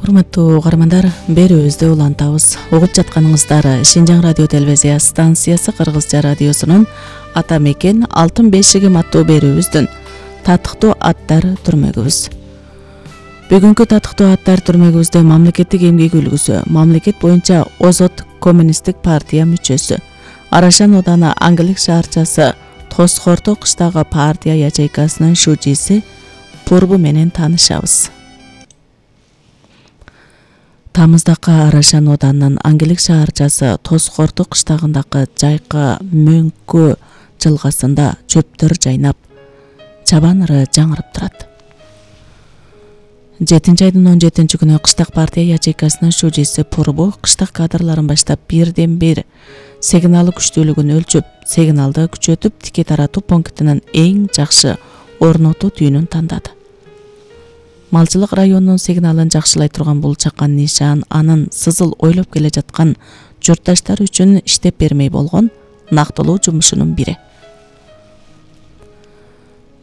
Урматтуу угармандар, берүүбүздү улантабыз. Угуп жатканыңыздар Шинжаң радио телевизия станциясы Кыргызча радиосунун Ата мекен алтын бешигим аттуу берүүбүздүн татыктуу аттар түрмөгүбүз. Бүгүнкү татыктуу аттар түрмөгүбүздө мамлекеттик эмгек үлгүсү, мамлекет боюнча Озот коммунисттик партия мүчөсү, Арашан ооданы Аңгилик шаарчасы Тоскорто кыштагы партия ячейкасынын шужиси Пурбу менен таанышабыз. Тамыздакы Арашан оодарынын Аңгилик шаарчасы Тоскорто кыштагындагы жайкы мөңкө жылгасында чөптөр жайнап, чабан ыры жаңырып турат. 7-айдын 17-күнү кыштак партия ячейкасынын шужиси Пурбу кыштак кадрларын баштап бирден бир сигналы күчтүүлүгүн өлчөп, сигналды күчөтүп, тике таратуу пунктунун эң жакшы орнотуу түйүнүн тандады. Малчылык районунун сигналын жакшылай турган бул чакан нишан анын сызыл ойлоп келе жаткан журтташтар үчүн иштеп бермей болгон нактылуу жумушунун бири.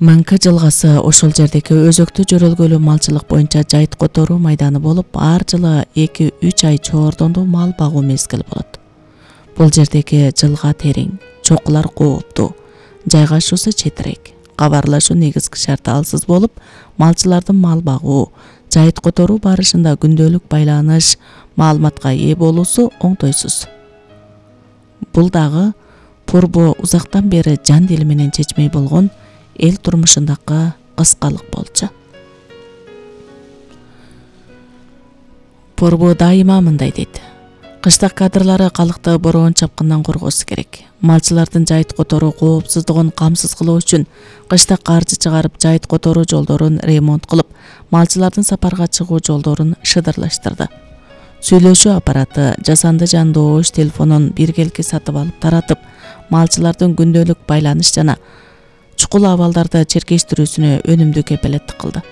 Мөңкө жылгасы ошол жердеги өзөктүү жөрөлгөлүү малчылык боюнча жайыт которуу майданы болуп, ар жылы 2-3 ай чоордондуу мал багуу мезгили болот. Бул жердеги жылга терең, чокулар кооптуу, жайгашуусу четирээк, кабарлашуу негизги шарты алсыз болуп, малчылардын мал багуу, жайыт которуу барышында күндөлүк байланыш, маалыматка ээ болуусу оңтойсуз. Бул дагы Пурбу узактан бери жан дили менен чечмей болгон эл турмушундагы кыскалык болчу. Пурбу дайыма мындай дейт: кыштак кадрлары калкты бороон чапкындан коргоосу керек. Малчылардын жайыт которуу коопсуздугун камсыз кылуу үчүн кыштак каржы чыгарып, жайыт которуу жолдорун ремонт кылып, малчылардын сапарга чыгуу жолдорун шыдырлаштырды. Сүйлөшүү аппараты, жасанды жандоош телефонун биргелки сатып алып таратып, малчылардын күндөлүк байланыш жана чукул абалдарды черкештирүүсүнө өнүмдүү кепилеттик кылды.